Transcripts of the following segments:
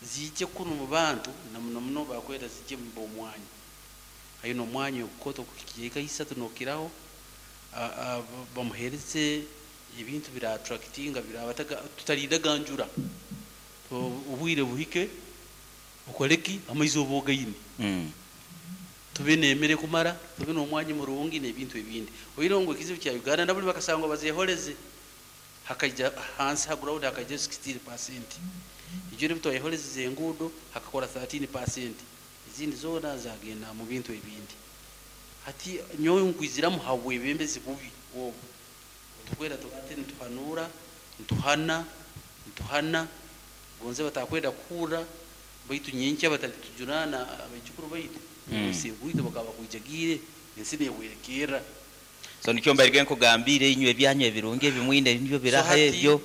Ziije kunu mu bantu, na muno muno bakwenda ziije mu b'omwanya. Aine omwanya ogukooto kuhikya eka isatu n'okiraho, bamuheereze ebintu bira attractinga birabataga tutalindaga njura. Obwire buhike okole ki? Amaizi oba ogaine. Tube n'emere kumara, tube n'omwanya murungi n'ebintu ebindi. Oihireho ngu ekizibu kya Uganda nabuli bakasangwa bazeholeze, hakaija hansi ha ground hakaijayo 16%. Ijwire ebi twayeholezeze enguudo hakakora 13%. Ezindi zoona zagenda mu bintu ebindi. Hati nyowe nkwiziramu habwebembezi bubi obu. Tukwenda ati nituhanuura, nituhana, nituhana, gonze batakwenda kuhurra, baitu nyenkya batalitujunana abaijukuru baitu, ensi bakaba bakwijagiire, ensi nehwerekerra. So nikyo mbairege nkugambiire inywe ebyanyu ebirungi ebimwine nibyo biraha ebyo.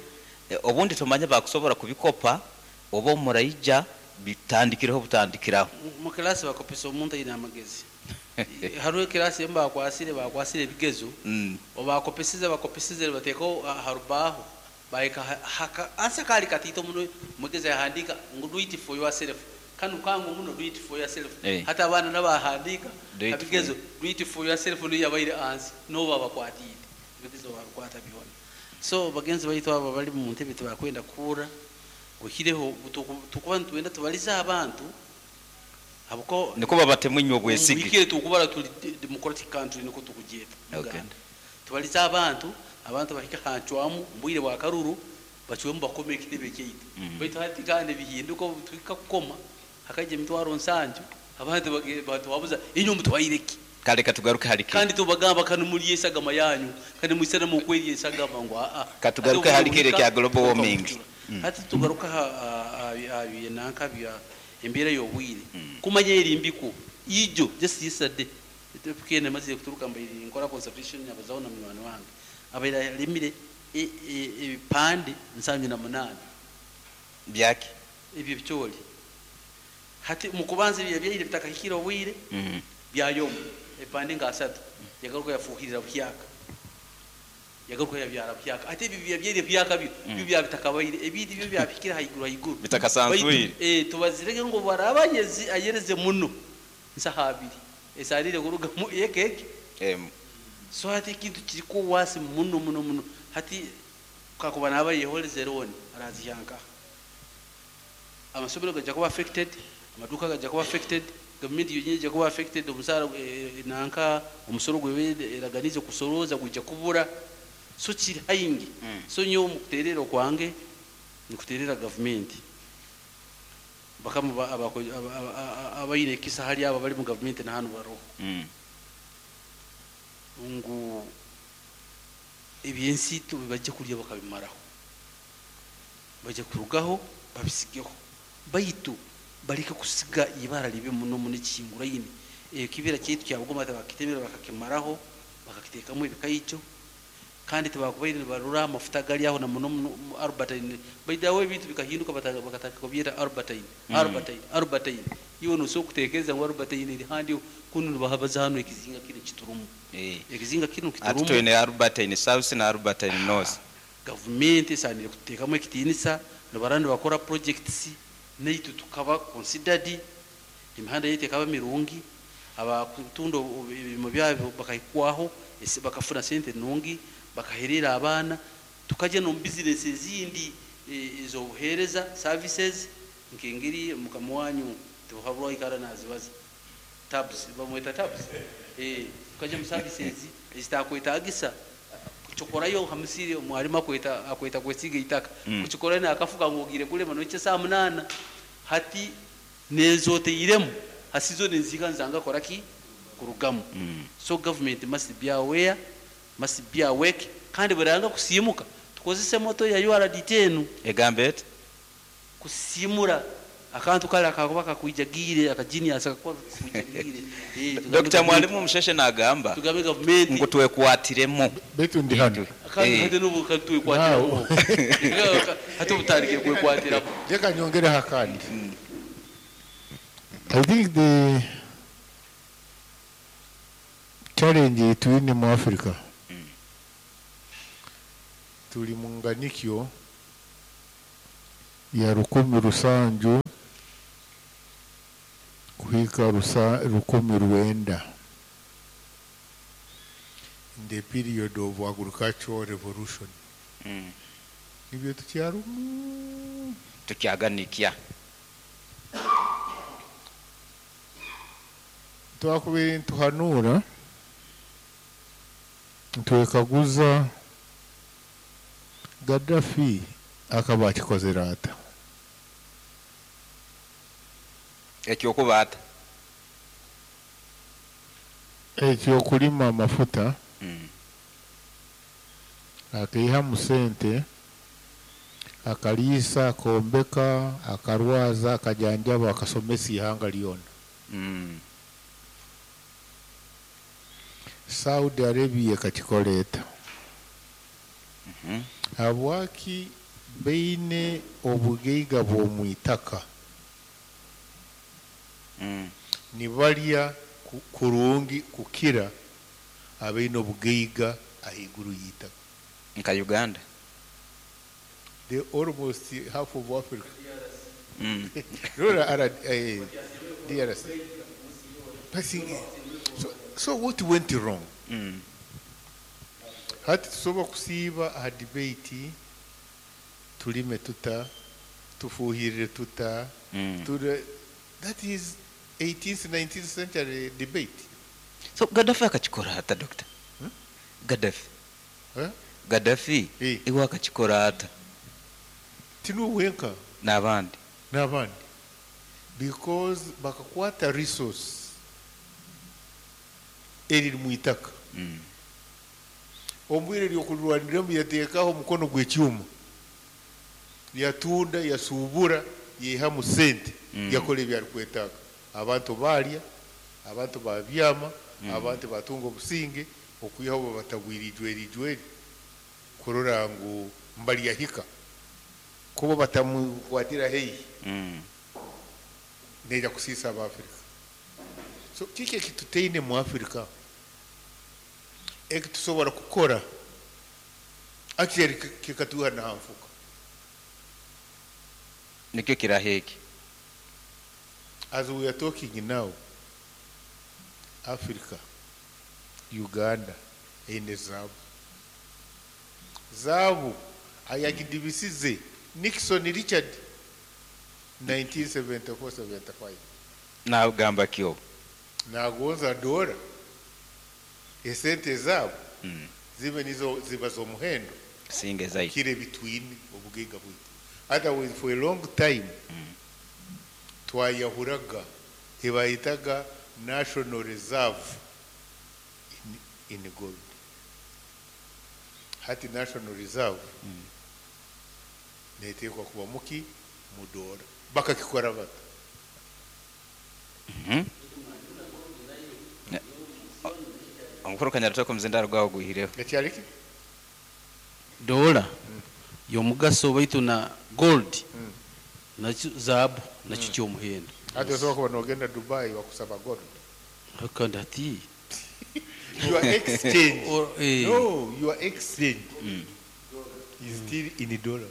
Obundi tumanye bakusobora kubikopa oba muraija bitandikireho butandikiraho. Mu kilasi bakopesa omuntu aine amagezi. Hariho ekilasi emu bakwasire ebigezo, obakopesize bakopesize bateekaho ha rubaho, bahika ansa kali katiito muno, omwegezi yahandiika ngu do it for yourself. Kanu kangu muno, do it for yourself. Hati abaana nabahandiika abigezo do it for yourself niyo yabaire ansi, n'obu babakwatiire ebigezo babikwata byona. So bagenzi baitu abo bali mu ntebe tibakwenda kuhurra, oihireho tukuba nitwenda tubalize abantu habwo niko babatemu inywe obwesige. Muhikire tukubara tuli democratic country niko tukugyeta Uganda. Tubalize abantu, abantu bahika hancwamu mbwire bwa karuru bacwemu bakome ekitebe kyaitu. Baitu hati kandi bihinduka obu tuhika kukoma hakaija emitwaro 70 abantu batuhabuza inywe mutwaire ki? Kale katugaruke hali ki? Kandi tubagamba kanu muri esagama yanyu, kandi mwisana mu kweri esagama ngu a. Katugaruke hali kire kya global warming. Hati tugaruka ha nanka bya embeera y'obwire. Kumanya erimbiko ijo just yesterday tukene maze kuturuka mbaire nkora conservation abazaho na munywani wange abaire alimire ebipande 78 byaki ebyo bicooli. Hati mukubanza ebyo byaire bitakahikire obwire byayomu ebipande nga 3 yagaruka yafuhirira buhyaka, yagaruka yabyara buhyaka. Ate ebyo byaire buhyaka byo byo byabitakabaire ebindi byo byabikira haiguru haiguru bitakasanzwire. Tubazirege ngo baraba ayereze muno nsaha abiri esarire kuruga mu ekeke. So hati ekintu kiriko wasi muno muno muno. Hati kakuba naba yeholeze roni arazihyanka, amasomero gajja kuba affected, amaduka gajja kuba affected, gavumenti yonyini ejja kuba affected, omusaara nanka omusoro gwebe eraganize kusoroza gujja kubura. So kiri haingi. So nyowe mukuterera okwange nikuterera gavumenti bakama abaine ekisa hali abo bali mu gavumenti na hanu baroho ngu ebyensi bajja kulya bakabimaraho, bajja kurugaho babisigeho, baitu baleke kusiga ibara libi muno muno ekihinguraine. Ekibira kyaitu kya Bugoma bakitemera bakakimaraho bakakiteekamu ebikaijo, kandi tibakubaire nibarora amafuta gali aho na muno muno Albertine. Baitu ebintu bikahinduka bakataka kubyeta Albertine, Albertine, Albertine. Iwe nosobola kutekereza ngu Albertine eri handi kunu nibahabaza hano ekizinga kinu kiturumu. Ekizinga kinu kiturumu. Ati twine Albertine South na Albertine North. Gavumenti esanire kuteekamu ekitiinisa, nibara nibakora projects naitu tukaba considered, emihanda yaitu ekaba mirungi, abakutunda ebirimo byabo bakahikwaho, bakafuna sente nungi, bakaherera abaana, tukajya no business ezindi ez'obuheereza services nk'engeri mukama wanyu tibuhabura ikara nazibaza tabs bamweta tabs, tukajya mu services ezitakwetagisa kuchokorayo hamusiri mwalimu akweta kwesiga itaka kuchikorayo nakafuka ngogire kulema noche saa 8 hati nezoteiremu hasizo nenzika nzanga koraki kurugamu. So government must be aware, must be awake, kandi buranga kusimuka tukozese moto ya URDT enu egambe kusimura akantu kale akakuba kakwijagire akagenius akakuba kakwijagire. Dr. Mwalimu Musheshe nagamba tugambe government ngo twekwatiremo betu ndi hano kandi n'ubu katwekwatiremo hati ubutarike kwekwatiramo. Reka nyongere hakandi. I think the challenge twine mu Africa tuli mu nganikyo ya 1700 Kuhika 1900 in the period of agricultural revolution. Nibyo tukyarumu. Tukyaganikia. Twakubiri ntuhanura ntwekaguza Gaddafi akaba akikozere ata? Ekyokuba ata? Ekyokulima amafuta. Akaihamu sente, akaliisa, akombeka, akarwaza, akajanjaba, akasomesa ihanga lyona. Saudi Arabia ekakikola. Habwaki baine obugaiga bw'omwitaka nibalya kurungi kukira abaine obugaiga ahaiguru y'itaka? Nka Uganda. They almost half of Africa. Rora DRC. So what went wrong? Hati tusobola kusiiba aha debate tulime tuta, tufuhirire tuta, that is 18th 19th century debate. So Gaddafi akakikora ata, doctor? Gaddafi. Eh? Gaddafi iwe akakikora ata? Tinuwe wenka. N'abandi. N'abandi. Because bakakwata resource eriri mu itaka. Omubwire ryokurwaniramu yateekaho omukono gw'ekyuma, yatunda, yasuubura, yeihamu sente, yakora ebyarikwetaaga. Abantu baalya, abantu babyama, abantu batunga obusinge, okwihaho babatabwire ijweri ijweri kurora ngu mbalyahika kuba batamukwatira haihi neija kusiisa Abafrika. So kiki ekitutaine mu Afrika ekitusobora kukora actually kikatuha na nfuka? Nikyo kiraheki. As we are talking now, Africa, Uganda eine zaabu. Zaabu ayagidibisize Nixon Richard 1974-75. Nagamba kyo. Nagonza dola esente zaabo zibe nizo ziba z'omuhendo Singe zaidi. Kire between obugaiga bwitu. Otherwise for a long time twayahuraga ebayitaga national reserve in gold. Hati national reserve netekwa kuba muki mu dola. Bakakikora bata? Omukuru Kanyarutoko omuzindaro gwawe gwihireho. Ekyariki? Dola y'omugaso baitu na gold nakyo zaabu nakyo ky'omuhendo. Hati osobola kuba nogenda Dubai bakusaba gold. Kandi hati Your exchange. Or, No, your exchange is still in dollars.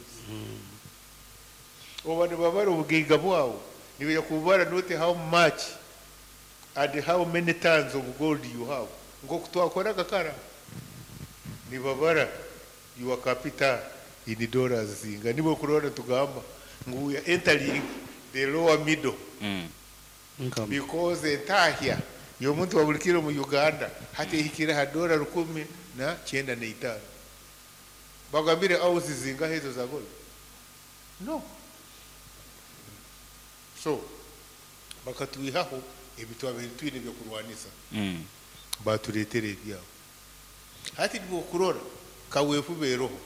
Oba nibabara obugaiga bwawe nibaija kubara not how much and how many tons of gold you have. Nk'oku twakoraga kara nibabara your capital in dollars zinga. Nibo kurora tugamba ngu we are entering the lower middle. Because entahya y'omuntu wa buli kiro mu Uganda hati ehikire ha dola 1,095. Bagambire ounces zingahe ezo za gold? No. So bakatwihaho ebitwabire twine byokurwanisa. Batureetera ebyabo. Hati nibokurora kaweefube eroho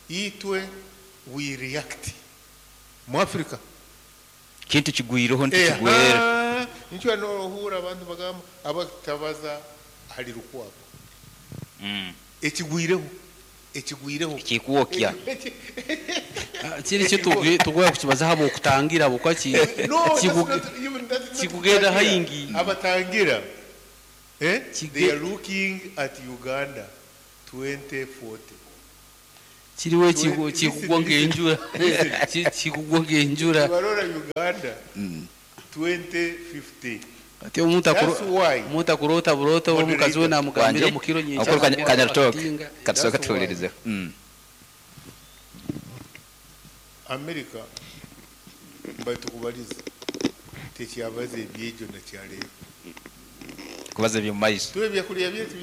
itwe we react mu Africa. Kintu kigwireho ntikigwera. Nikyo nohura abantu bagamba abatabaza hali rukwabo. Ekigwireho, ekigwireho. Kikuokya. Kiri kyo tugwa kukibaza habo okutangira abo kwaki No, that's not even, that's not kikugenda kutangira. Haingi. Abatangira. They are looking at Uganda 2040. Kiriwe kikugwa ng'enjura. Kikugwa ng'enjura. Barora Uganda. 2050. Ati omuntu That's why omuntu akurota burota omukazi we namugambira Wanje, mukiro okuru Kanyarutooke katusooke That's why. tuwulirizeho. America batukubaliza tekyabaza ebyegyo nakyaleero. Kubaza ebyomumaiso. Tuwe ebyakulya byaitu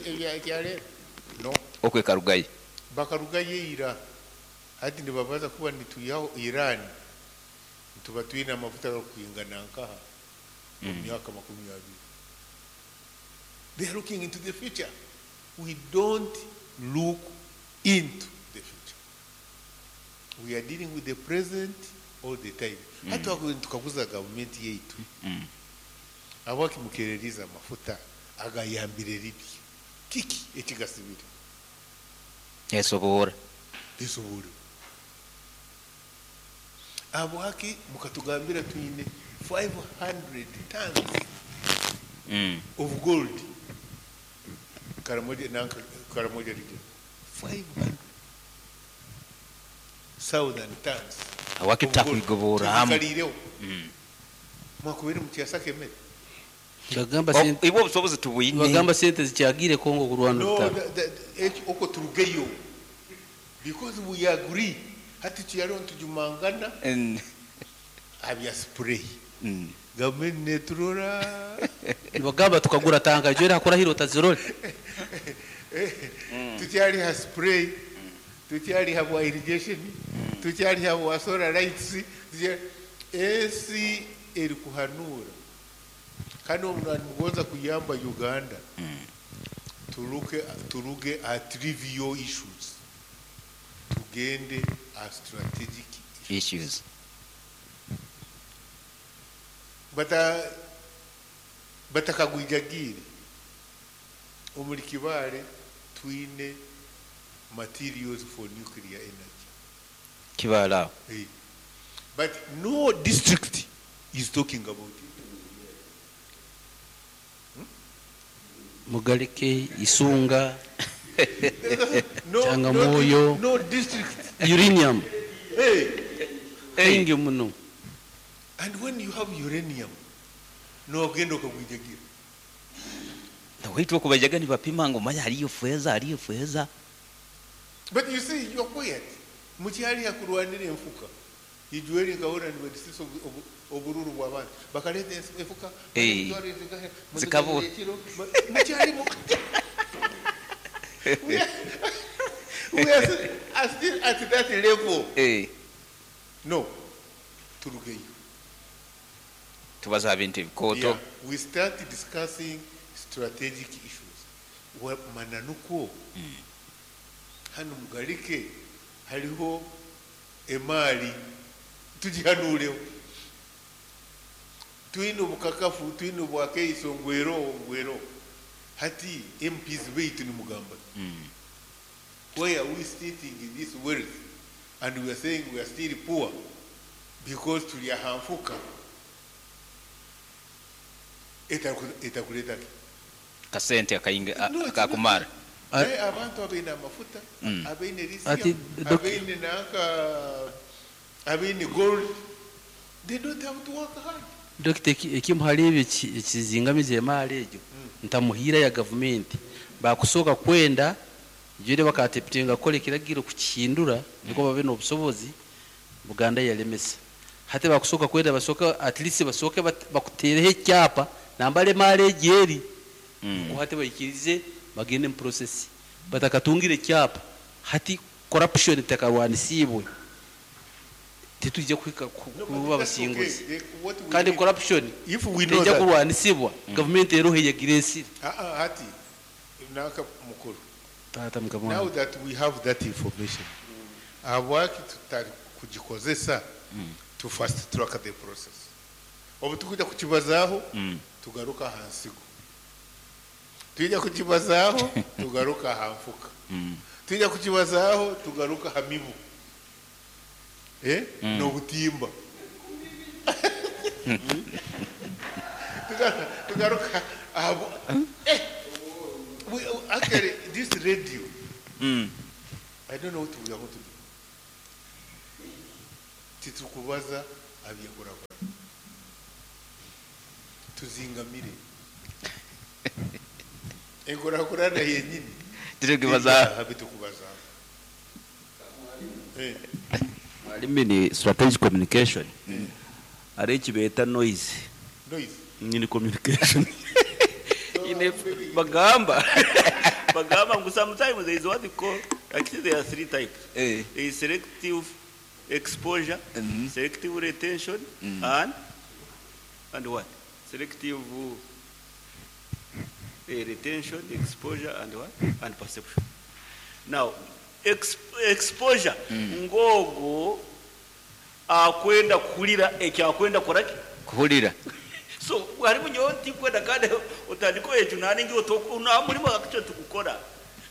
ebyaleero no. Okwekarugayo. Bakarugayo ira, hati nibabaza kuba nituyaho Iran, nituba twine amafuta gakwingana nkaha mu myaka 20. They are looking into the future. We don't look into the future. We are dealing with the present all the time. Hati tukaguza gavumenti yaitu abakimukereriza amafuta agayambire ribi kiki ekigasibire? Esoboora. Lisobole abwaki mukatugambira twine 500 tons of gold Karamoja, nanka Karamoja region, 500,000 tons Awaki of gold. tutakwigobora hamu. Tubikaliireho. Mwakubiri mukyasaka emmere. Bagamba sente. Ibwe obusobozi tubwine. Bagamba sente zikyagire Kongo kurwana No, orutaro. Okwo turugeyo because we agree, hati tuyaliho ntujumangana abya spray. Gavumenti neturora. Bagamba tukagura tanga jwera hakora hiro tazirole. Tukyaliha spray, tukyaliha bwa irrigation, tukyaliha bwa solar lights, ensi eri kuhanura kandi omuntu nimugonza kuyamba Uganda turuge at trivial issues, tugende a strategic issues. Batakagwijagire omuri Kibale twine materials for nuclear energy. Kibale aho. Hey. But no district is talking about it. Mugaleke, Isunga, No, Changamoyo. No, no district. Uranium. Hey. Hey. Muno. And when you have uranium, no ogenda okagwijagira. Waitu okubajaga nibapima ngo manya hariyo feza, hariyo feza. But you see, you're quiet. Mukyali hakurwanira enfuka. Ijueli nkabona nibadisisa obururu bw'abantu. Bakaleta enfuka. Hey. Zikabura. Mukyali mu We are still at that level. Hey. No. Turugeyo. Tubaza bintu ebikooto. Yeah. We start discussing strategic issues. Mananuko. Hano mugalike hariho emali tugihanureho. Twine obukakafu, twine obwakeiso ngwero ngwero. Hati MPs baitu ni mugamba. Why are we sitting in this wealth and we are saying we are still poor because tuli ahanfuka etakuleta ki? Kasente akayinga No, it's akakumara. Naye abantu abaine amafuta, abaine Ati, lithium, abaine nanka, abaine gold, they don't have to work hard. Dokita, ekimu hali ebyo ekizingamiza emaali egyo ntamuhiira ya gavumenti bakusooka kwenda jwire bakateputinga kukola ekiragiro kukihindura niko babe n'obusobozi. Buganda yalemesa hati bakusooka kwenda basooka at least basooke bakuteereho ekyapa nambala emaali egyo eri ko hati bayikirize bagende mu process batakatungire ekyapa. Hati corruption tekarwanisiibwe titujja kuhika No, but kuba that's abasinguzi. okay. What we Kandi need- corruption if we know tejja that, kurwanisibwa gavumenti eroho eyagira esiri. Hati nanka mukuru. Taata mukama Now wange. that we have that information, habwaki tutari kugikozesa to fast track the process? Obu tukujja kukibazaaho tugaruka aha nsigo, tujja kukibazaaho tugaruka aha nfuka, tujja kukibazaaho tugaruka aha mibu n'obutimba, tugaruka aha we, actually this radio, I don't know what we are going to do. Titukubaza abyenkurakura. Tuzingamire enkurakurana yenyini. Tirikubaza. Bitukubaza. Mwalimu, ni strategic communication ari ekibeta noise. Noise. Ni communication ine bagamba ngu sometimes there is what they call, actually there are three types. There is selective exposure, selective retention, and what? Selective retention, exposure, and what? And perception. Now, exposure, ngogo akwenda kuhulira ekyakwenda koraki? Kuhulira. So harimu nyowe ntikwenda kandi otandika ekyo naningi na mulimo akicyo tukukora.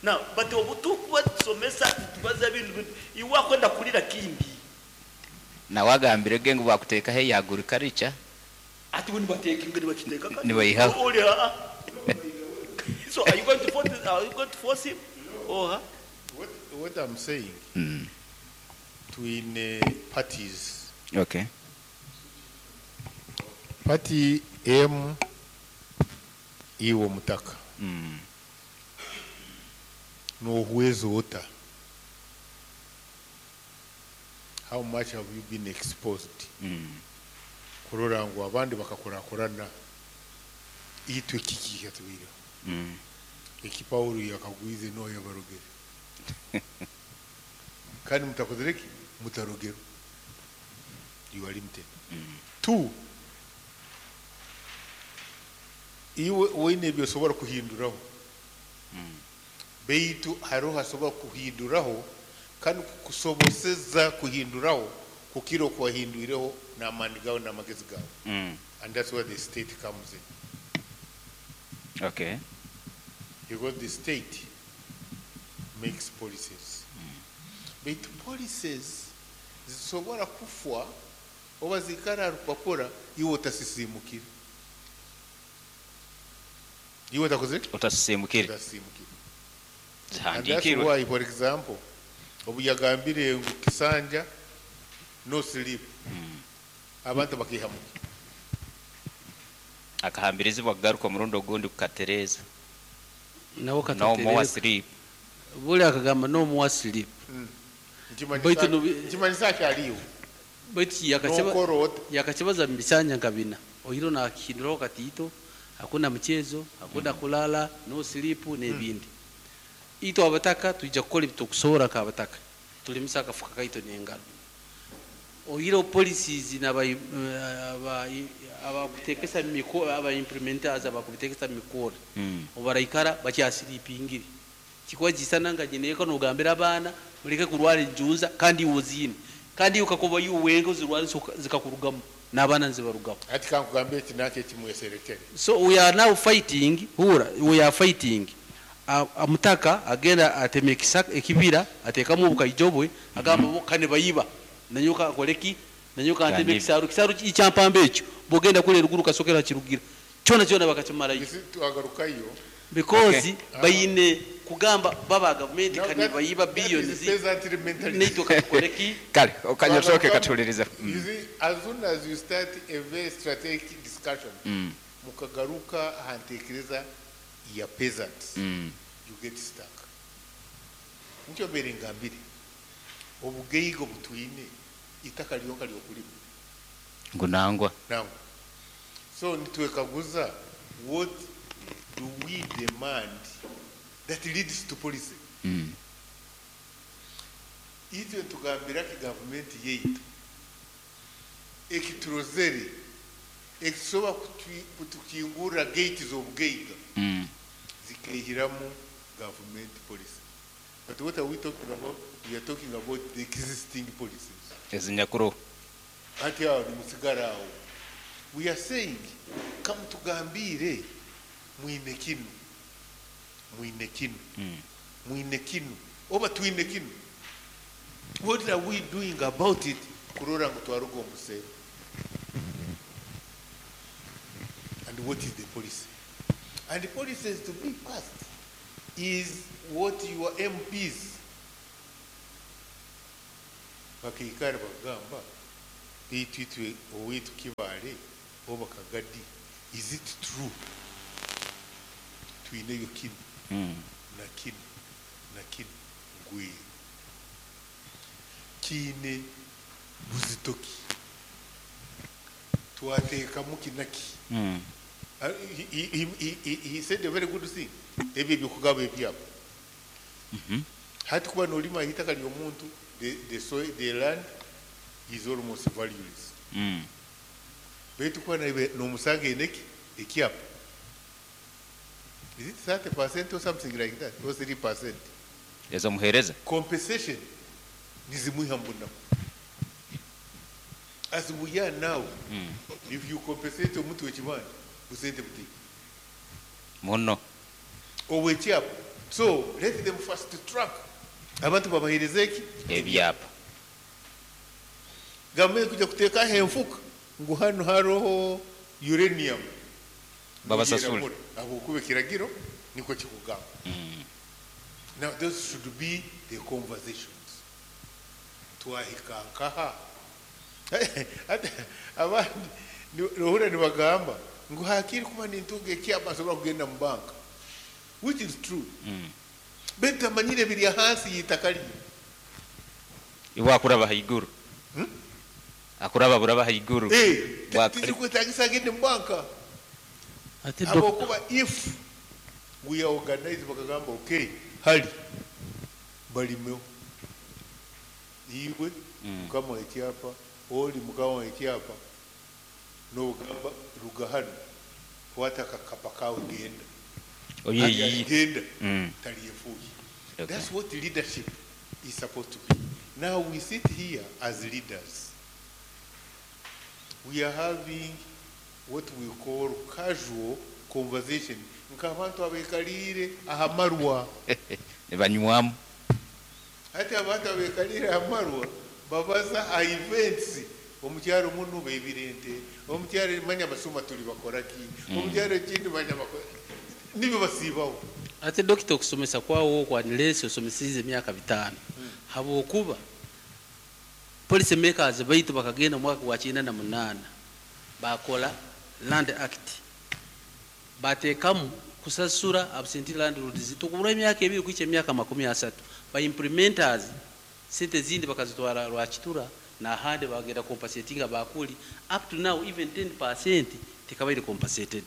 Now, but obutukuba tusomesa tubaza ebintu iwe akwenda kulira kindi. Nawe agambire ge ngu bakuteekaho eyagurikarica. Ati bo nibateeka ingeri bakiteeka kati. Nibayihaho. Oli, ah, ah. So are you going to force him or her? What I'm saying, twine parties. Party M iwo mutaka. Nohuwezo ota. How much have you been exposed? Kurora ngu abandi bakakurakurana itwe kiki kyatubireho. Eki Paulo yakagwize no yabarogere. Kandi mutakozere ki? Mutarogero. You are limited. Two, iwe weine byosobora kuhinduraho. Beitu hariho hasobora kuhinduraho kandi kukusoboseza kuhinduraho kukira okuwahindwireho n'amaani gawe n'amagezi gawe. And that's where the state comes in. Because the state makes policies. Beitu policies zisobora kufwa oba zikara aha rupapura iwe otasisimukire. Iwe otakoze? Otasisimukire. Otasisimukire. And that's Zihandikirwe. why, for example, obu yagambire ngu kisanja no sleep. Abantu bakihamuka. Akahambirizibwa kugaruka omurundi ogundi kukatereeza. Nawo No more katatereeza. sleep. Buli akagamba no more sleep. Baitu Nkimanyisa akyaliyo. Baitu N'okora ota. yakakibaza mu bisanja nka bina. Ohiro nakihinduraho katiito, hakuna mchezo, hakuna kulala, no sleep n'ebindi. Itwe abataka tujja kukola ebitukusobola nk'abataka. Tulimisa akafuka kaito n'engalo. Ohiro policies abakuteekesa aba implementers abakubitekesa mikoro. Obaraikara bakyasiripingire. Kikuba kisana nga nyineeko n'ogambira abaana muleke kurwara enjunza kandi iwe oziine. Kandi iwe kakuba iwe wenka ozirwara zikakurugamu n'abaana nzibarugamu. Ati kankugambire eki nakyo ekimweserekere. So we are now fighting, hura, we are fighting. Amutaka agenda atema ekibira ateekamu obukaijo bwe agamba bo kane bayiba nanyoka akoleki nanyoka atema Kandi- ekisaru kisaru ekyampamba ekyo bwogenda kule eruguru kasokera kirugira kyona kyona bakakimalayo. You see, twagarukayo. Because bayine kugamba baba gavumenti Now kane bayiba that is billions peasantry mentality. neitwe katukoleki. Kale okanyosooke katulirize. You see, as soon as you start a very strategic discussion, mukagaruka ahantekereza ya peasants, you get stuck. Nikyo mbere ngambire obugeigo butwine itaka lyonka lyokulima Ngu nangwa. Nangwa. So nitwekaguza, what do we demand that leads to policy? Itwe tugambira ki gavumenti yaitu ekiturozere ekisobola kutukingurira gate z'obugaiga zikaihiramu government policy. But what are we talking about? We are talking about the existing policies. Ezinyakuru. Ati awo nimusigara awo. We are saying, come tugambire mwine kinu. Mwine kinu. Mwine kinu. Oba twine kinu. What are we doing about it? Kurora ngu twaruga omuseero. And what is the policy? And the policy is to be passed is what your MPs bakaikara bagamba baitu itwe owaitu Kibaale oba Kagadi Is it true twineyo kinu na kinu na kinu ngwero kiine buzito ki, twateekamu kinaki? He said a very good thing, ebyo ebyokugaba ebyabo. Hati kuba nolima itaka ly'omuntu, the soil, the land is almost valueless. Baitu kuba nomusanga eneki ekyapa, is it 30% or something like that, or 3%? Ezomuheereza. Compensation nizimwiha mbunaku. As we are now, if you compensate omuntu wekibanja, busente butiki. Muno. Owekyapa. So let them fast track abantu babahereze eki? Ebyapa. Gavumenti kuja kuteekaho enfuka ngu hano haroho uranium. Babasasule. Habwokuba ekiragiro nikwo kikugamba. Now those should be the conversations. Twahika nkaha? Ate abandi nohura nibagamba ngu hakiri kuba nintunga ekyapa nsobora kugenda mu banka, which is true. Baitu amanyire biri ahansi y'itaka lye. Iwe akuraba haiguru. Akuraba buraba haiguru. Tizikwetagisa agende mu banka. Ate Habwokuba if we are organized, bakagamba okay, hali balimeho iwe mukama ekyapa, oli mukama ekyapa, nogamba ruga hano, kwata akakapa kawe genda. Oye, genda. Taliyefuye. That's what leadership is supposed to be. Now we sit here as leaders, we are having what we call casual conversation, nk'abantu abekalire ahamarwa. Nebanywamu. Ate abantu abekalire ahamarwa babaza aha events, omukyaro muno bebirente, omukyaro manya basuma tuli bakoraki, omukyaro ekindi manya bakora nibyo basiibaho. Ate dokita, okusomesa kwawo okwanilesi osomesize emyaka 5, habwokuba policy makers baitu bakagenda mwaka gwa 98 bakola Land Act, bateekamu kusasura absentee landlords tukubura emyaka 2 kuicha emyaka 30. Ba implementers sente zindi bakazitwara Rwakitura n'ahandi, bagenda compensatinga bakuli. Up to now even 10% tekabaire compensated.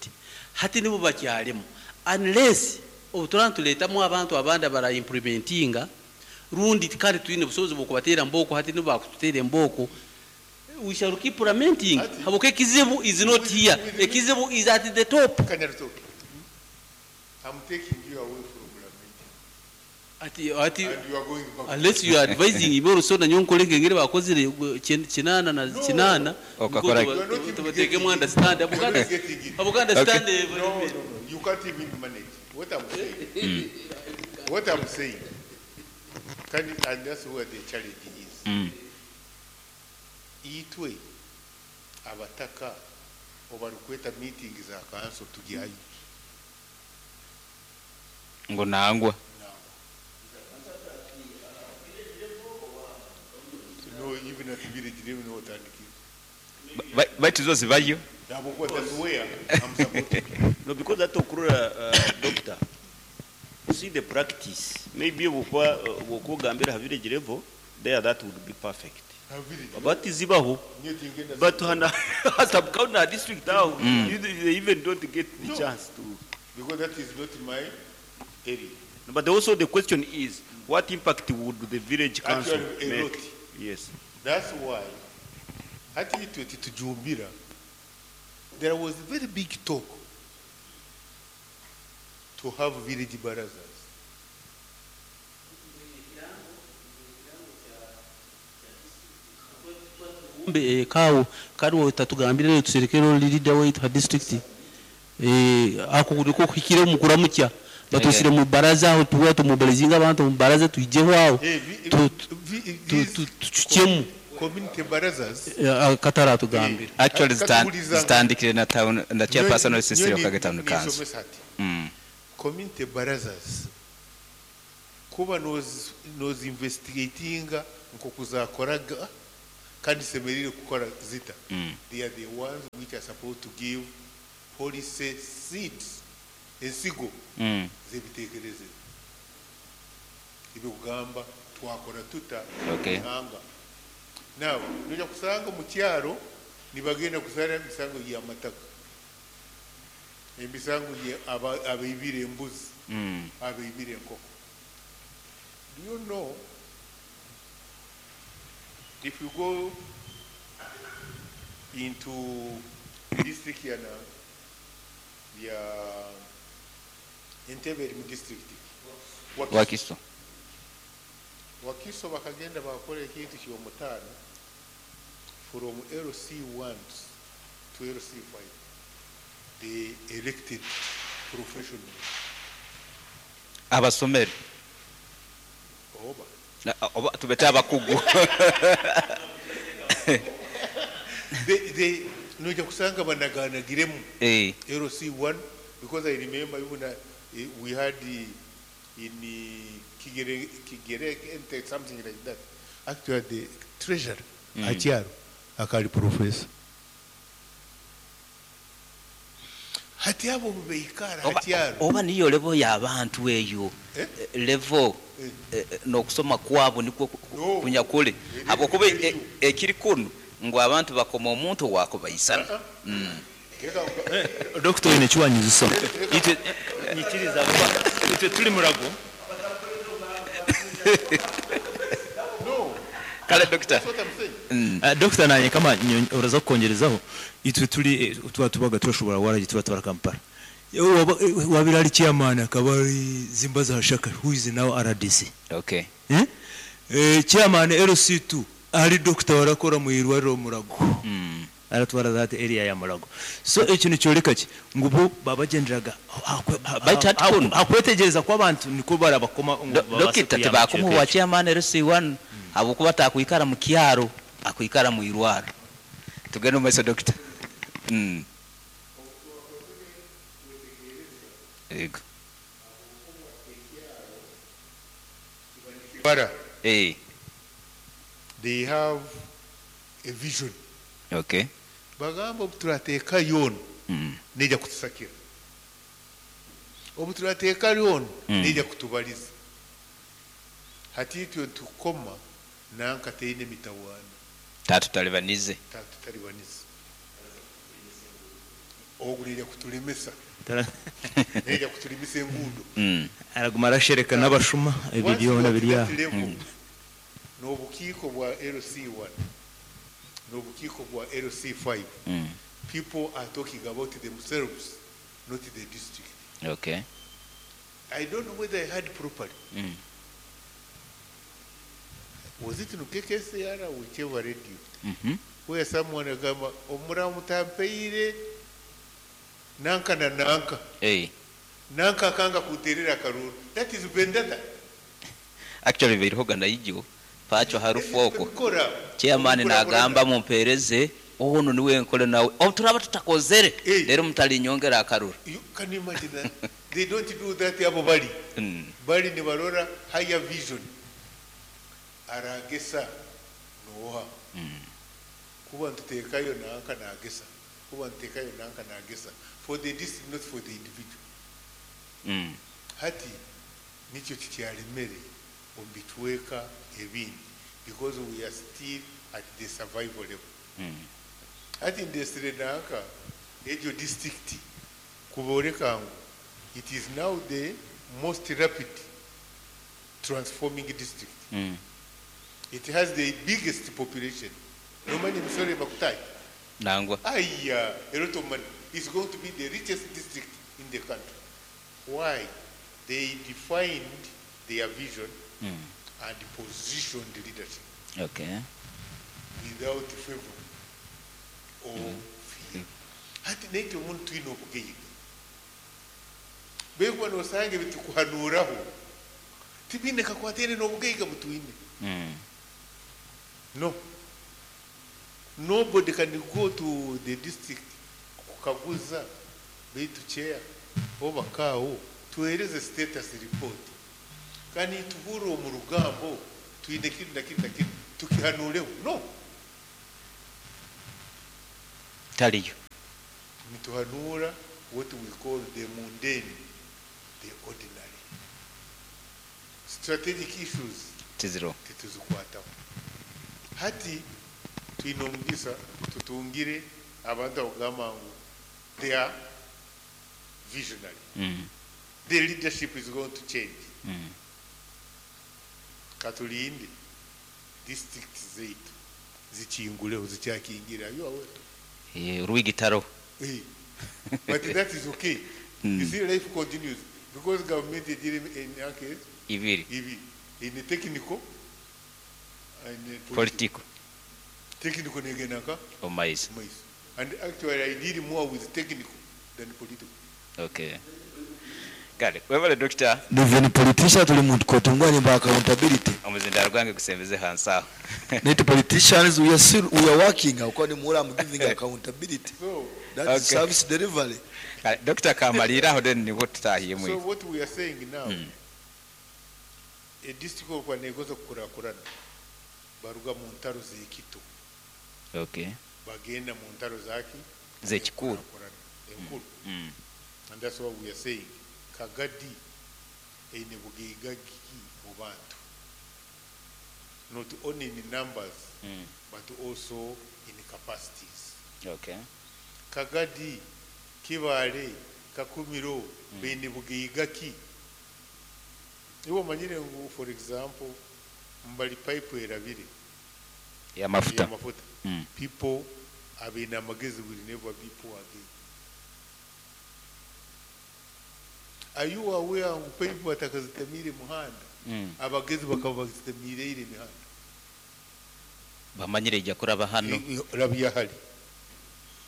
Hati nibo bakyalimu, unless obutura nituleetamu abantu abandi abara implementinga, rundi kandi twine obusobozi bw'okubateera mbooko. Hati nibo bakututeera embooko, we shall keep lamenting. Habwokuba ekizibu is not here, ekizibu is at the top. Kanyarutoki, I'm taking you away from lamenting. Ati And you are going back. Unless you are advising ibe orusona nyonkole ngengere bakozire 8 na No. 8. Okakora- You are not even tubateekemu getting it. understand. You are not Abuganda getting it. Abuganda Okay. stand. No. You can't even manage. What I'm saying. What I'm saying. And that's where the challenge is. Itwe abataka obarukweta meeting za council tugyayo. Ngo nangwa. No, even at village level no otandikira. Baitu zo zibayo. Nabo that's where I'm supposed to be. No, because that okurora, doctor, you see the practice. Maybe bwokugambira ha village level, there that would be perfect. Ha village. But zibaho. Nyo tingenda. But hana sub county district now, they even don't get the No. chance to. Because that is not my area. But also the question is, what impact would the village council Actually, a make? lot. Yes. That's why hati itwe titujumbira, there was a very big talk to have village barazas. Mbe kawo kariwo tatugambire tuserekero leader waitu ha district, ako kuliko kuhikire mu kuramukya batusire mu baraza aho tuwa tumubilizinga abantu mu baraza tuijeho aho. These Tuchukemu. community barazas. Katara tugambire. Actually, Katubuliza. zitandikire na town na chairperson Nyo- wa sisi nyo wa town council. nisomesa ati. Community barazas kuba nozi investigatinga nkokuzakoraga kandi semerire kukora zita. They are the ones which are supposed to give Policy seeds, ensigo z'ebiteekerezo ebyokugamba twakora tuta ihanga. Now noja kusanga omu kyaro nibagenda kusara emisango y'amataka, emisango abaibire embuzi, abaibire enkoko. Do you know, if you go into district ya Entebbe eri mu district Wakiso. Wakiso bakagenda bakora ekintu ky'omutaano from LC1 to LC5. They elected professionals. Abasomere. Oba. Oba tubete abakugu. They noja kusanga banaganagiremu. LC1, because I remember even we had the, in the Kigere, Kigere, something like that. Actually, the treasurer, Achiaro, akali professor. Hati abo beikara Achiaro. Oba niyo level y'abantu eyo. Level n'okusoma kwabo nikwo kunyakule. Habwokuba ekiri kuno ngu abantu bakoma omuntu wakubaisana. Doctor ine kiwanyiziso. Itwe nyikiriza kuba itwe tuli murago. No. Kale doctor. That's what I'm saying. Doctor nanye kama uraza kukongerezaho itwe tuli tuba tubaga turashobora waragi tuba twara Kampala. Wabirali chairman akabari zimbaza hashaka who is now RDC. Okay. Chairman LC2 ari doctor warakora mu irwariro murago. Aratwara that area ya murago. So ekintu cyoreka ki ngubo babagenderaga akwetegereza kwa abantu niko barabakoma dokita tebakumuwa wa chairman LC1 abukuba takwikara mu kyaro akwikara mu irwaro. Tugende mu maiso doctor. Ego. Bara. They have a vision. Okay. Bagamba obuturateeka yono neja kutusakira. Obuturateeka yono neja kutubaliza. Hati itwe tukoma nanka teine mitawaana. Tatutalibanize. Tatutalibanize. Ogu neja kutulemesa. Neja kutulemesa enguudo. Araguma arashereka n'abashuma ebyo byona biri aho. N'obukiiko bwa LC1. N'obukiiko bwa LC5. People are talking about themselves, not the district. Okay. I don't know whether I heard properly. Was it in KKCR or whichever radio? Where someone agamba omuramu tampeire nanka na nanka. Hey. Nanka akanga kuterera karuru. That is vendetta. Actually birihoga naijo pacho harufu oko. Chairman nagamba mumpereze ono niwe nkole nawe. Oturaba tutakozere. Rero mutalinyongera akaruru. You can imagine that. They don't do that abo bali. Bali ni barora higher vision. Aragesa noha. Kuba ntutekayo nanka nagesa. Kuba ntutekayo nanka nagesa. For the district, not for the individual. Hati nikyo kikyalemere ombitweka ebindi because we are still at the survival level. Hati ndesire nanka ejo district kuboreka ngu it is now the most rapid transforming district. It has the biggest population. No money misore bakutai. Nangwa. Aya, a lot of money. It's going to be the richest district in the country. Why? They defined their vision and positioned leadership. Okay. Without favor or fear. Hati neke omuntu ino obugeiga. Bekuba nosange bitukuhanuraho. Tibine kakwatere n'obugeiga butwine. No. Nobody can go to the district kukaguza beitu chair oba kawo tuhereze status report. Kandi tuhuru mu rugambo twine kiri na kiri na kiri tukihanureho. No. Taliyo. Nituhanura what we call the mundane, the ordinary. Strategic issues tiziro tituzikwataho. Hati twine omugisa tutungire abantu abagamba ngu they are visionary. The leadership is going to change. Katulinde district zaitu zikinguleho, zikyakingire. Are you aware? Eh, urwigitaro. Eh, but that is okay. You see, life continues because government egire emyaka ibiri ibiri in technical and political. Political. Technical negenda nka omaizi maiso. And actually I deal more with technical than political. Okay, kale webale doctor. Even politician tuli muntu kotungwa nimba accountability. Omuzindaro gwange gusembeze hansi aho. Net politicians, we are still, we are working aho ni mura, I'm giving accountability. So that is Okay. service delivery. Kale, doctor kamalira aho, then nibwo tutahiye So mwi what we are saying now, a district okwa negoza kukurakurana baruga mu ntaro z'ekito bagenda mu ntaro zaki Z'ekikulu. Enkurakurana, enkulu. And that's what we are saying, Kagadi eine bugaiga ki mu bantu, not only in numbers but also in capacities. Kagadi, Kibale, Kakumiro, beine bugaiga ki? Iwe omanyire ngu, for example, mbali pipe erabire y'amafuta. Y'amafuta. People abeine amagezi will never be poor again. Are you aware ngu pipe batakazitemire muhanda? Abagezi bakaba bazitemiire emihanda. Bamanyire ijja kuraba hano. Rabya hali.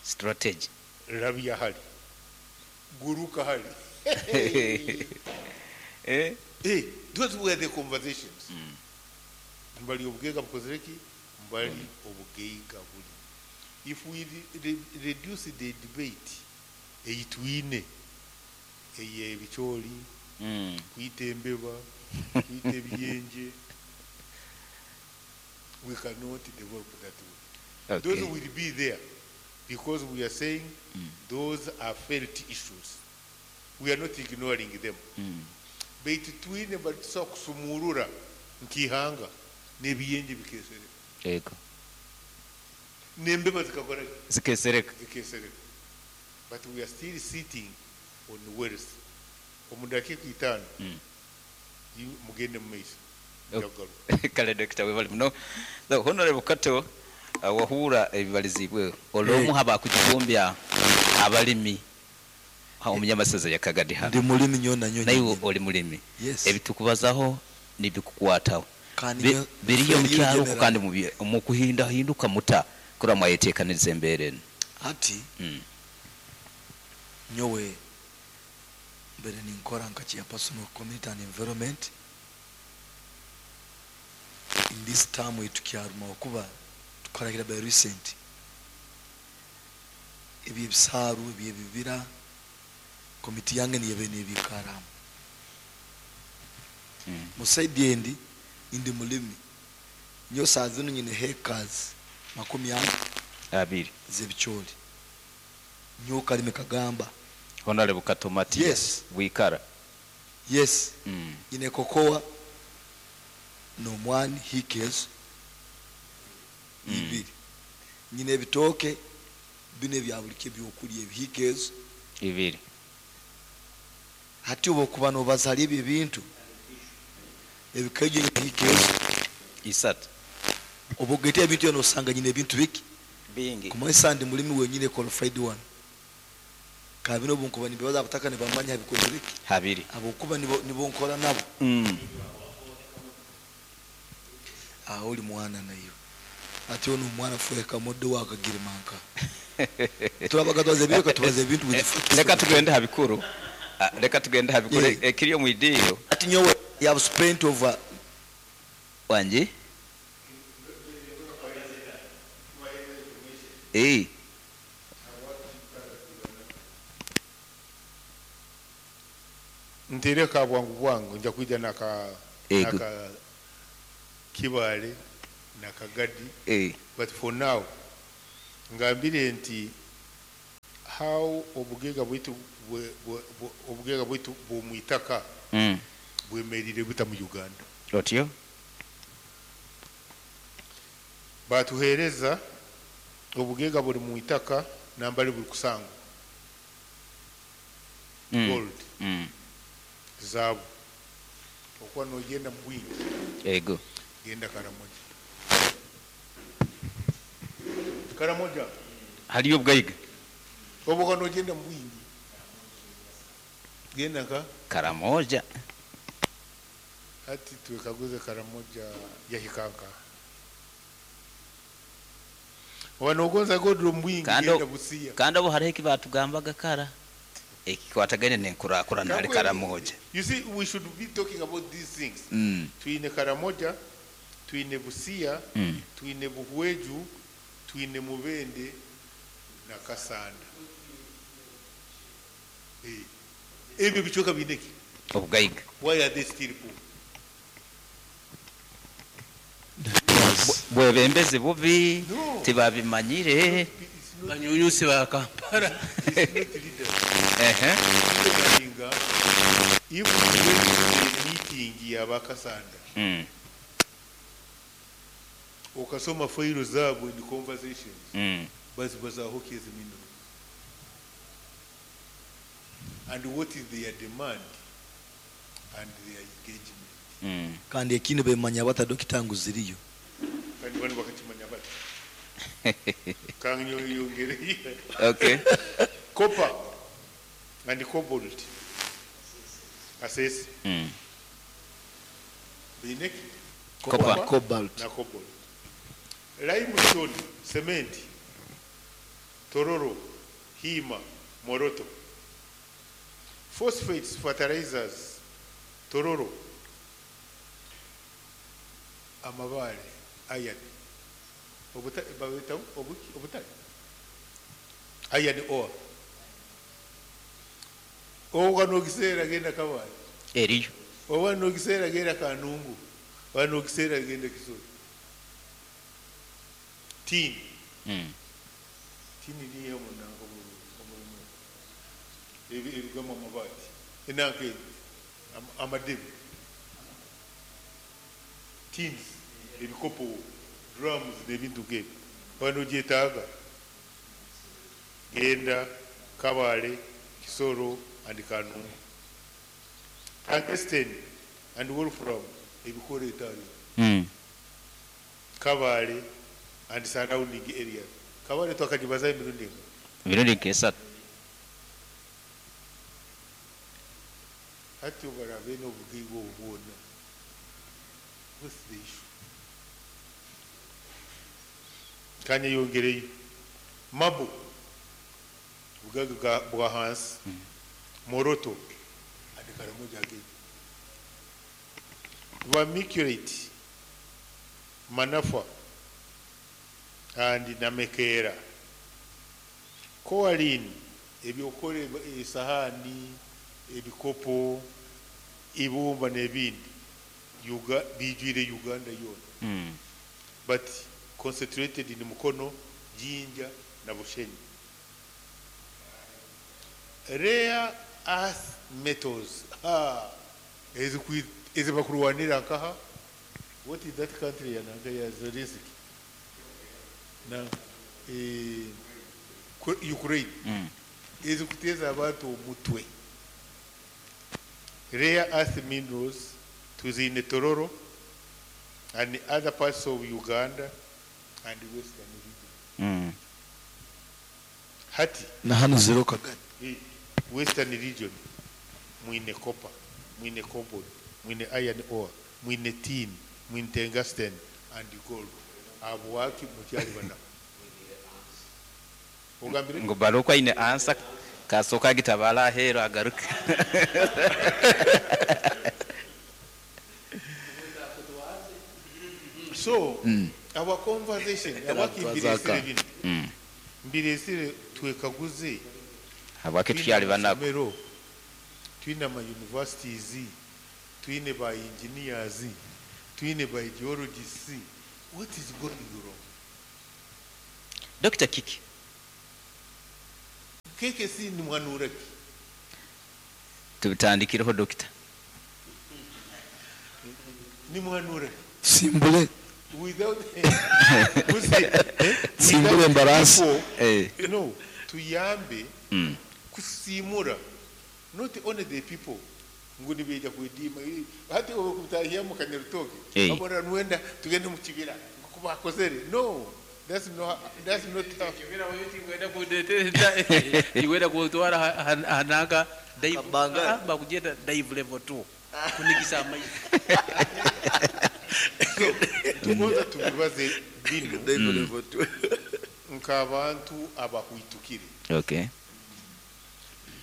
Strategy. Rabya hali, guruka hali. Eh? Hey, those were the conversations. Mbali obugaiga bukozere ki? Mbali obugaiga buli. If we reduce the debate eyitwine ey'ebicooli, kuyita embeba, kuyita ebiyenje, we cannot develop that way. Those will be there because we are saying those are felt issues. We are not ignoring them. Baitu twine batusobola kusumurura nk'ihanga n'ebiyenje bikesereka. Yego. N'embeba zikakora ki? Zikesereka. Zikesereka. But we are still sitting on wealth. Omu dakiika 5 mugende mu maiso. Njagaruka. Kale dokita, webale muno. So, Honorable Kato, wahura ebibalizibwe olwomu haba kukigombya abalimi omunyamasaza ya Kagadi hano. Ndi mulimi nnyo na nnyo Naye nnyo. oli mulimi. Yes. Ebitukubazaho nibikukwataho. Kandi Biriyo mu biriyo kyalo general. kandi mu kuhindahinduka muta kura mwayeteekaniriza embeera eno. Ati nyowe mbere ninkora nka chairperson of community and environment in this term etukyaruma okuba tukoragira by recent ebyebisaaru ebyebibira komiti yange niyebe nebikaramu. Musaidi endi indi mulimi nyo saa zino nyine hectares 40 abiri z'ebicooli nyo kalime kagamba. Honorable Kato Matiya. Yes. Wikara. Yes. Nyine kokoa n'omwani hikes ibiri. Nyine ebitooke bino ebya buli kye ebyokulya ebihikezo ibiri. Hati oba okuba nobaza ebyo ebintu ebikaijjo ebihikezo 3. Oba ogeta ebintu ebyo nosanga nyine ebintu biki bingi. Kumanyisa ndi mulimi wenyine qualified one. Kabino obunkuba nibibaza abataka nibamanya bikozere biki habiri. Abokuba nibo nkora nabo. Aho oli mwana nayo ati ono omwana fueka moddo wakagirimanka turabaga twaze ebyo tubaze ebintu with facts. Leka tugende habikuru. Leka tugende habikuru. Yeah. Ekiri omu idiiro. Ati nyowe you have spent over wanje. Ntereka bwangu bwangu nja kuija Ego. naka Kibale nakagadi. But for now ngambire nti How obugaiga bwaitu obugaiga bwaitu bw'omwitaka bwemerire buta mu Uganda? Otyo. Batuhereza obugaiga buri mu itaka nambali buri kusangwa. Gold, zaabu. Okuba nogenda mu bwingi, Ego. Genda Karamoja. Karamoja. Haliyo obugaiga. Obuka nogenda mu bwingi, genda nka Karamoja. Hati twekaguze, Karamoja yahikanka oba nogonza gold omu bwingi, genda Busia. Kandi abo hariho eki batugambaga kara ekikwatagane n'enkurakurana hali Karamoja. You see, we should be talking about these things. Twine Karamoja, twine Busia, twine Buhweju, twine Mubende na Kasanda. Ebyo bicweka biineki? Obugaiga. Why are they still poor? Bwebembezi bubi. No. Tibabimanyire. Banyunyusi ba Kampala. It's not leaders. Ehe. If we went to the meeting y'abakasanda, okasoma failo zaabwe in conversations, bazibazaho kezi minerals and what is their demand and their engagement. Kandi ekindi bemanya bata, dokita, ngu ziriyo? Kandi bano bakakimanya bati kanyongere. Okay. Copper and cobalt, Kasese. Biineki? Copper. Cobalt. Na cobalt, limestone, cement, Tororo, Hima, Moroto. Phosphates, fertilizers, Tororo. Amabale, iron, babita obutale, iron ore. Oba nokiseera genda Kabale. Eriyo. Oba nokiseera genda Kanungu, oba nokiseera genda Kisoro. Tin. Tin niyo munango omulimu ebigamu amabaati enanka amadebe, tins, ebikopo, drums n'ebintu nk'ebyo. Oba nogyetaaga genda Kabale, Kisoro and Kanungu. Tungsten and wolfram, ebikora etayo, Kabale and surrounding areas. Kabale twakagibaza emirundi emu. Emirundi nk'esatu. Hati obarabe n'obugaiga obwo bwona, what's the issue? Kanyeyongereyo marble, bugaiga bwa hansi, Moroto and Karamoja again. Vermiculite, Manafwa and Namekera. Kaolin, ebyokora esahani, ebikopo, ibumba n'ebindi. Bijwire Uganda yona, but concentrated in Mukono, Jinja na Bushenyi. Rare earth metals, ezibakurwanira nkaha, what is that country ya nanka ya Zelensky na Ukraine, ezikuteza abantu omutwe. Rare earth minerals tuzine Tororo and other parts of Uganda and Western region. Hati Na hano zero kagari. Western region mwine copper, mwine cobalt, mwine iron ore, mwine tin, mwine tungsten and gold. Abo waki mukyali bana ogambire? Ngo baruko aine ansa kasooka agitabala aheeru agaruke. So our conversation awaki mbiresire bino, mbiresire twekaguze. Habwaki tukyali banaku? Amasomero, twine ama universities, twine ba engineers, twine ba geologists. What is going wrong? Dr. Kiki. KKC nimuhanura ki? Tubitandikireho dokita. Nimuhanura ki? Simbule. Without Musi, eh? Simbule Without embarasi. people, Eh. no, tuyambe kusimura not only the people ngu nibeija kwediima. Eh, hati okutahia mu Kanyarutoke Eh. abona nwenda tugende mu kibira nkuko bakozere. No, that's not how. Iwenda kutwara hanaka dive. Kabanga. Ah, bakugenda dive level 2 kunigisa amaizi. Tugonza tubibaze bino Dive level two. nk'abantu abahwitukire. Okay.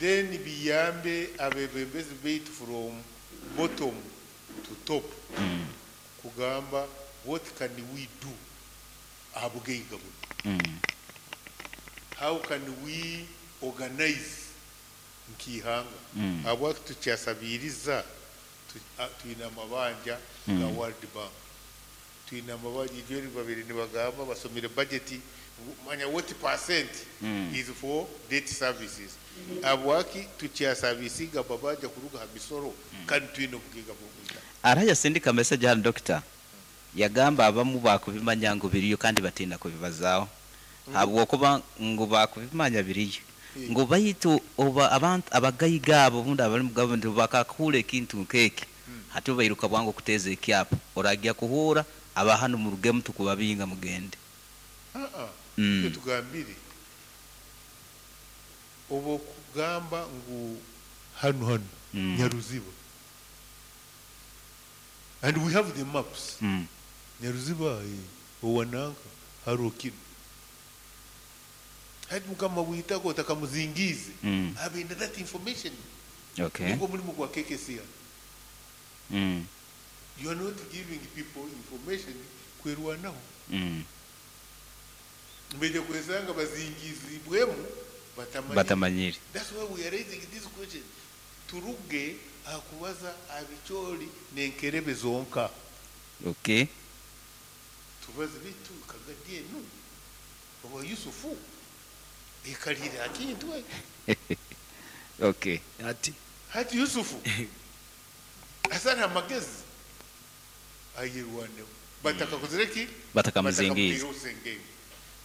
Then biyambe abebembezi baitu from bottom to top kugamba what can we do aha bugaiga buno. How can we organize nk'ihanga? Habwaki tukyasabiriza? Twine amabanja ga World Bank, twine amabanja ibyo babiri nibagamba basomire budget, manya what percent is for debt services. Habwaki tukyasabisiga babanja kuruga ha misoro kandi twine obugiga bw'obwita? Araja sindika message hano dokita, yagamba abamu bakubimanya ngu biriyo kandi batinda kubibazaaho habwokuba ngu bakubimanya biriyo, ngu baitu oba abantu abagayiga abo obundi abali mu gavumenti bakakuhura ekintu nk'eki, hati bairuka bwangu okuteeza ekyapa oragia kuhura aba hano murugemu tukubabinga mugende. Ah, uh tugambire obo kugamba ngu hano hano Nyaruziba, and we have the maps. Nyaruziba, owananka harokino hati mukama witako otakamuzingize abenda that information. Nigwo mulimu gwa KKCR. You are not giving people information kwerwanaho. Mbeje kwesanga bazingizibwemu batamanyire. Batamanyire. That's why we are raising this question. Turuge akubaza abicholi nenkerebe zonka. Okay. Tubaze bitu kagadie nu. Oba Yusufu ekalira akintu. Okay. Ati hati Yusufu asana amagezi ayirwane batakakozereki. Batakamuzingiza. Batakamuzingiza.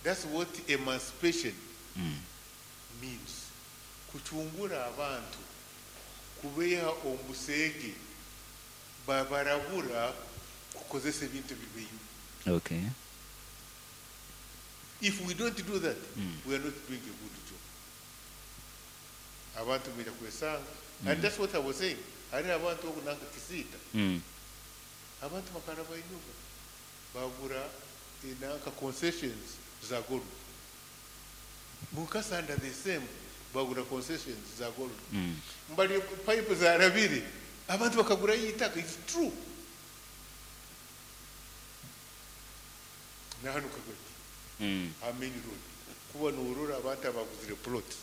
That's what emancipation means. Kuchungura abantu kubeha omusege babarabura kukozesa ebintu bibeyo. Okay. If we don't do that, we are not doing a good job. Abantu bira kwesanga. And that's what I was saying. Hari abantu okunanga kisita. Abantu bakaraba inyuma bagura inanka concessions za gold. Mukasanda the same bagura concessions za gold. Mbali pipe za rabiri abantu bakagura itaka. It's true. Na hano kagati. Main road. Kuba nurura abantu abaguzire plot.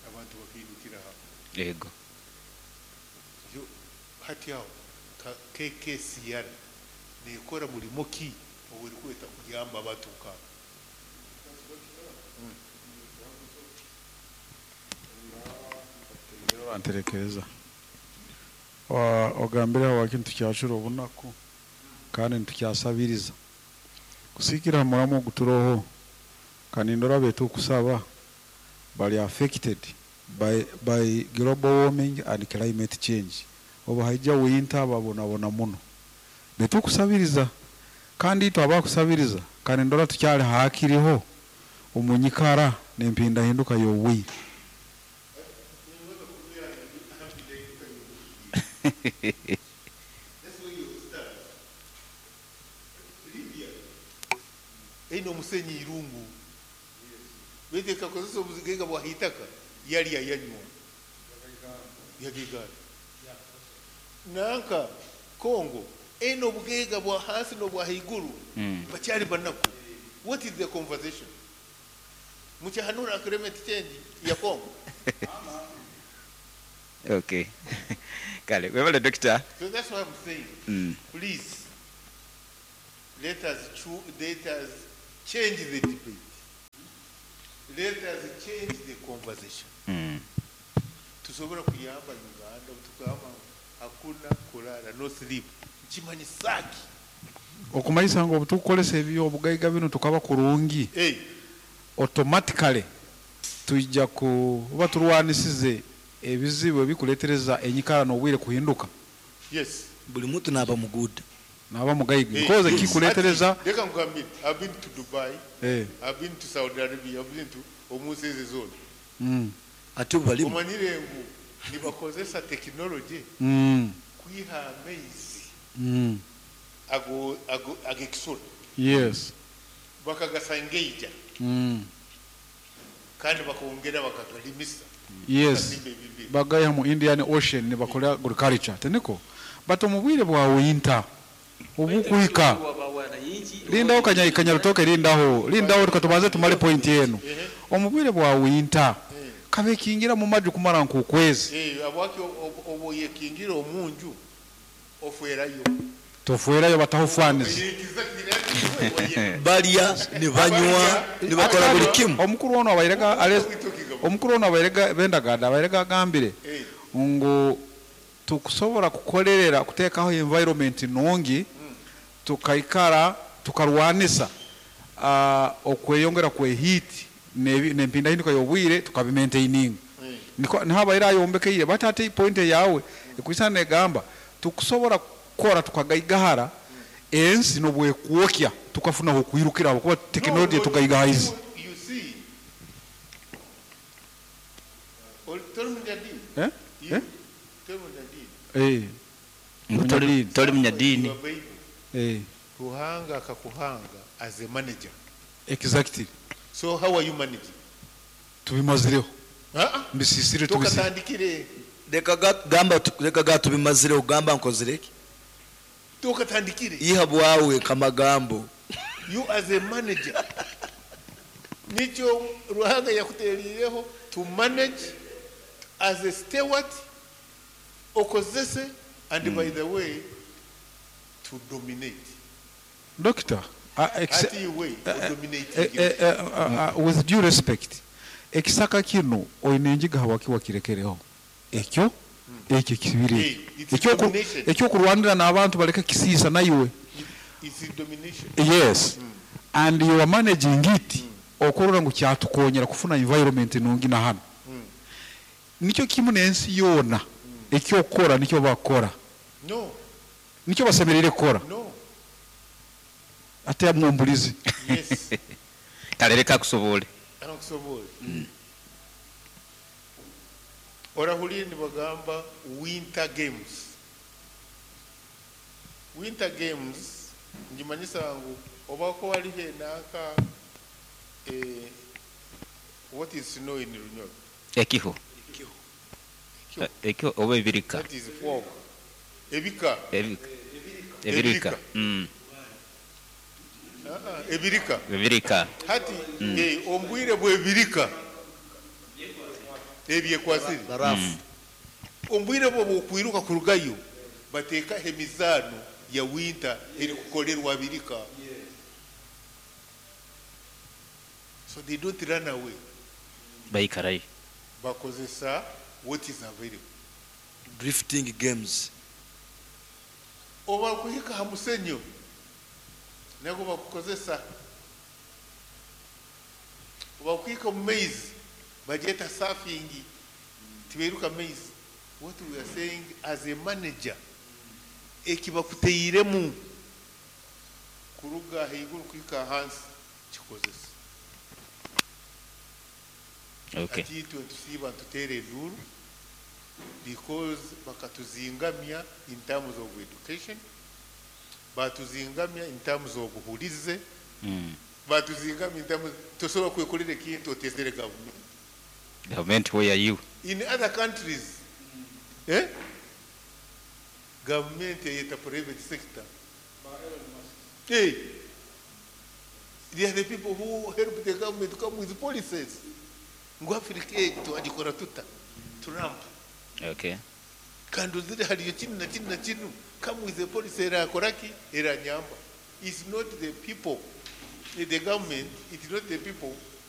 Abantu bakindukira hapo. Yego. Yo hati yao KKCR nekora mulimo ki oburi kweta kuyamba abatuka. Anterekereza ogambire aho kintu kyacura obunaku kandi ntukyasabiriza kusikira muramu guturoho kandi ndora betu kusaba bali affected by global warming and climate change. Oba haija winter babonabona muno betu kusabiriza kandi twabakusabiriza kandi ndora tukyali hakiriho omunyikara nempinda hinduka yowi. Eno musenyi irungu bete kakozesa obuzigega bwa hitaka yali yanywa yagigara nanka Kongo eno bugega bwa hasi no bwa higuru bacyari banaku. What is the conversation? Muchahanura climate change ya Kongo. Okay. Kale, webale doctor. So that's what I'm saying. Please let us change the debate. Let us change the conversation. Tusobora kuyamba Uganda tukagamba hakuna kulala, no sleep. Nkimanyi saki. Okumanyisa ngu obutukukolesa ebyobugaiga bino tukaba kurungi, Hey, automatically tuija kuba turwanisize ebizibu ebikuletereza enyikara n'obwire kuhinduka. Yes. Buli muntu naaba muguda. Naba mugaiga. Hey, Because yes. kikuletereza Ati, leka nkugambire, I've been to Dubai, eh I've been to Saudi Arabia, I've been to omunsi ezo zona. Ate obu balimu Omanyire ngu nibakozesa technology kwiha amaizi ago ago ag'ekisolo Yes. bakagasangeija kandi bakongera bakagalimisa. Yes. Bakazimba ebibira. Bagaya mu Indian Ocean nibakola agriculture teniko, but omu bwire bwa winter obukuhika lindaho kanyarutoke, lindaho, lindaho, tukatubanze tumale point yenu. Omu bwire bwa winter kabekingira mu maju kumara nkukwezi. Eh, abwaki oboyekingira omunju ofwerayo. Tofuerayo batahufaniza. Balya ne banywa ne bakola buli kimu. Omukuru ono abairega omukuru ono abairega bendagada abairega agambire ngu tukusobola kukolerera kuteekaho environment nungi, tukaikara tukarwanisa okweyongera kwe heat n'empindahinduka y'obwire tukabimaintaininga. Niko nihabaire ayombekeire, but ate point yawe ekuisana negamba tukusobola kukora tukagaigahara ensi nobwekwokya tukafuna okwirukira kuba tekinologiya tugaigahaize. You see, toli munyadini. Eh? You, Eh? toli munyadini. Eh. Ngu toli munyadini. Your Bible. Eh. Ruhanga akakuhanga as a manager. Exactly. So how are you managing? Tubimazireho. Ah, Mbisisire tubisire. tukatandikire. Leka gamba leka ga tubimazireho gamba nkozireki. Tukatandikire. Iha bwawe kamagambo. You as a manager. Nikyo Ruhanga yakuterireho to manage as a steward, okozese, and by the way to dominate. Doctor, Ati iwe, dominate. With due respect, ekisaka kino oyina enjiga hawaki wakirekereho ekyo ekyo kibiri Hey, it's domination. ekyokurwanira n'abantu baleke kisiisa naiwe. It's domination. Yes. And you are managing it okurora ngu kyatukonyera kufuna environment nungi na hano. Nikyo kimu n'ensi yoona ekyokukora nikyo bakora. No. Nikyo basemerere kukora. No. Ate amwombulizi. Yes. Kale leka akusobole. Akusobole. Orahulire nibagamba winter games. Winter games njimanyisa ngu obako waliho enanka, what is snow in Runyoro? Ekiho. Ekiho. Ekiho oba ebirika. That is fog. Ebika. Ebika. Ebirika. Ebirika. Ebirika. Hati, ombwire bw'ebirika. Ebyekwasire. Barafu. Ombwire bwo bwokwiruka kurugayo bateeka emizaano ya winter erikukolerwa birika. So they don't run away. Baikarayo. Bakozesa what is available. Drifting games. Oba kuhika ha musenyo nako bakukozesa. Oba kuhika mu maize bagyeta surfing, tiberuka maize. What we are saying as a manager, ekibakuteiremu kuruga haiguru kuhika hansi kikozesa. Okay. Ati itwe tusiiba ntuteera enduuru because bakatuzingamya in terms of education, batuzingamya in terms of buhulize, batuzingamya in terms tosobola kwekolera ekintu otezere government. Government, where are you? In other countries, government eyeta private sector. Hey, they are the people who help the government to come with policies. Ngu Africa twagikora tuta Trump. Okay. Kandi uzire hariyo kinu na kinu na kinu come with the policy erakoraki eranyamba. It's not the people, the government, it's not the people